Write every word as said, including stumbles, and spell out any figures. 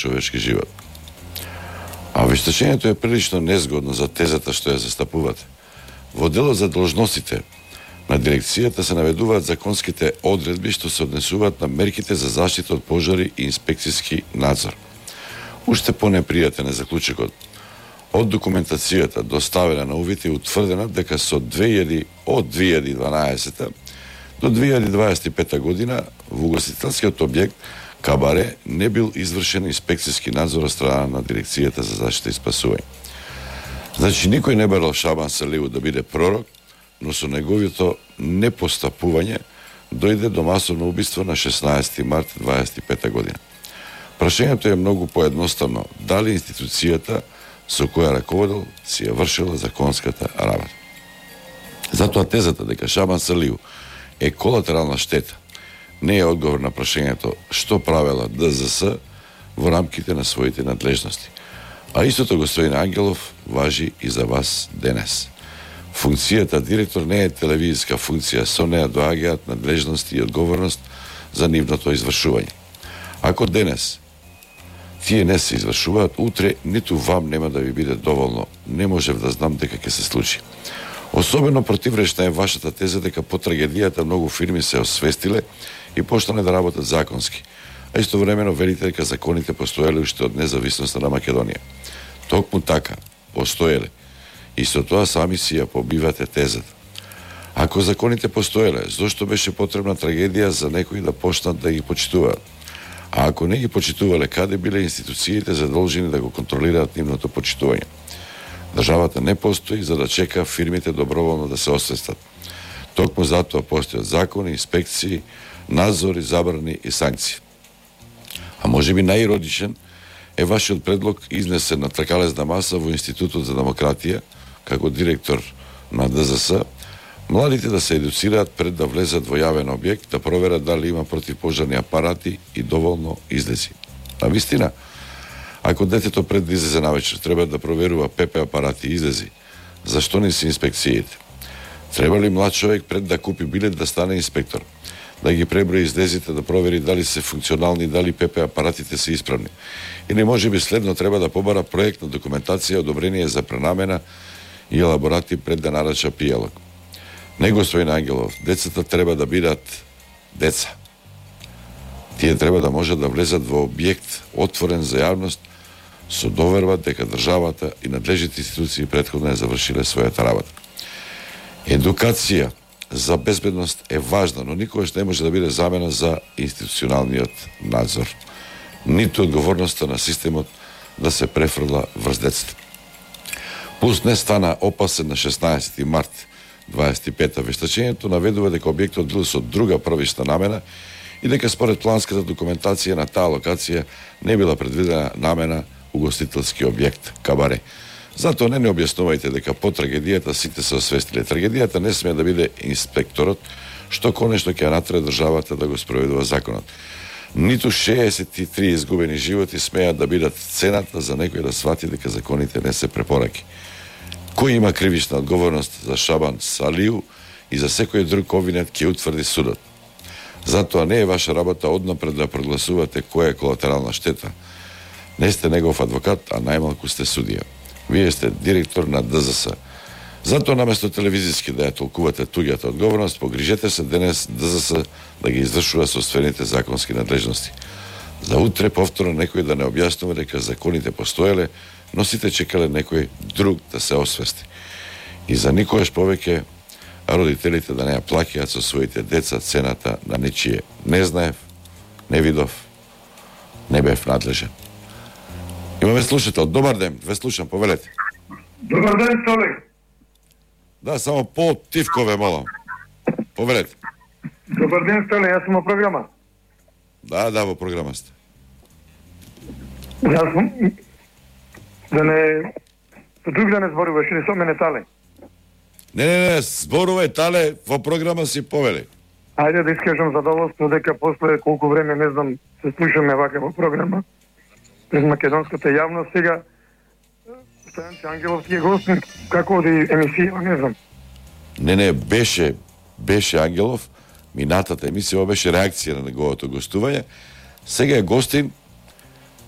човечки живот. А вештачењето е прилично незгодно за тезата што ја застапувате. Во делот за должностите на дирекцијата се наведуваат законските одредби што се однесуваат на мерките за заштита од пожари и инспекцијски надзор. Уште понепријатен е заклучокот. Од документацијата доставена на увид е утврдена дека со две илјади од две илјади и дванаесета до две илјади дваесет и пета година во угостителскиот објект Кабаре не бил извршен инспекцијски надзор од страна на дирекцијата за заштита и спасување. Значи никој не барал Шабан Салиу да биде пророк, но со неговото непостапување дојде до масовно убиство на шеснаесети март дваесет и пета година. Прашањето е многу поедноставно, дали институцијата со која раководел си ја вршила законската работа. Затоа тезата дека Шабан Салиу е колатерална штета не е одговор на прашањето што правела Д З С во рамките на своите надлежности. А истото, господин Ангелов, важи и за вас денес. Функцијата директор не е телевизиска функција, со неа доаѓаат надлежности и одговорност за нивното извршување. Ако денес тие не се извршуваат, утре ниту вам нема да ви биде доволно. Не можев да знам дека ќе се случи. Особено противречна е вашата теза дека по трагедијата многу фирми се освестиле и почнале да работат законски. А истовремено велите дека законите постоеле уште од независноста на Македонија. Токму така, постоеле. И со тоа сами си ја побивате тезата. Ако законите постоеле, зошто беше потребна трагедија за некои да почнат да ги почитуваат? А ако не ги почитувале, каде биле институциите задолжени да го контролираат нивното почитување? Државата не постои за да чека фирмите доброволно да се освестат. Токму затоа постојат закони, инспекции, надзори, забрани и санкции. А може би најиродичен е вашиот предлог изнесен на тркалезна маса во Институтот за демократија, како директор на Д З С, младите да се едуцираат пред да влезат во јавен објект, да проверат дали има противпожарни апарати и доволно излези. А вистина, ако детето пред да излезе навечер треба да проверува П П апарати и излези, зашто не се инспекциите? Треба ли млад човек пред да купи билет да стане инспектор? Да ги преброи излезите, да провери дали се функционални, дали П П апаратите се исправни? Или може би следно треба да побара проектна документација, одобрение за пренамена и елаборати пред да нарача пијалок? Не, господин Ангелов, децата треба да бидат деца. Тие треба да можат да влезат во објект отворен за јавност со доверба дека државата и надлежните институции претходно е завршиле својата работа. Едукација за безбедност е важна, но никогаш не може да биде замена за институционалниот надзор. Ниту одговорноста на системот да се префрла врз децата. Пулс не стана опасен на шеснаесети март дваесет и пета. Вештачењето наведува дека објектот бил со друга првична намена и дека според планската документација на таа локација не била предвидена намена угостителски објект Кабаре. Затоа не не објаснувајте дека по трагедијата сите се освестиле. Трагедијата не смее да биде инспекторот, што конечно ќе натре државата да го спроведува законот. Ниту шеесет и три изгубени животи смеат да бидат цената за некој да свати дека законите не се препораки. Кој има кривична одговорност за Шабан Салиу и за секој друг обвинет ќе утврди судот. Затоа не е ваша работа однапред да прогласувате која е колатерална штета. Не сте негов адвокат, а најмалку сте судија. Вие сте директор на Д З С. Затоа наместо телевизиски да ја толкувате туѓата одговорност, погрижете се денес Д З С да ги извршува соствените законски надлежности. За утре повторно некој да не објаснува дека законите постоеле, но сите чекале некој друг да се освести. И за никогаш повеќе родителите да не ја плаќаат со своите деца цената на нечие. Не знаев, не видов, не бев надлежен. Имаме слушател. Добар ден, ве слушам, повелете. Добар ден, Столе. Да, само по-тивко ве молам. Повелете. Добар ден, Столе, јас сум во програма. Да, да, во програма сте. Јас сум... Да не... Друг да не зборуваш, или со мене Тале. Не, не, не, зборувај Тале, во програма си повели. Ајде да искажам задоволство дека после колку време, не знам, се слушаме вака во програма. Пред македонската јавност сега Стојан Ангелов ти е гостин, како оди емисија, не знам. Не, не, беше, беше Ангелов, минатата емисија беше реакција на неговото гостување. Сега е гостин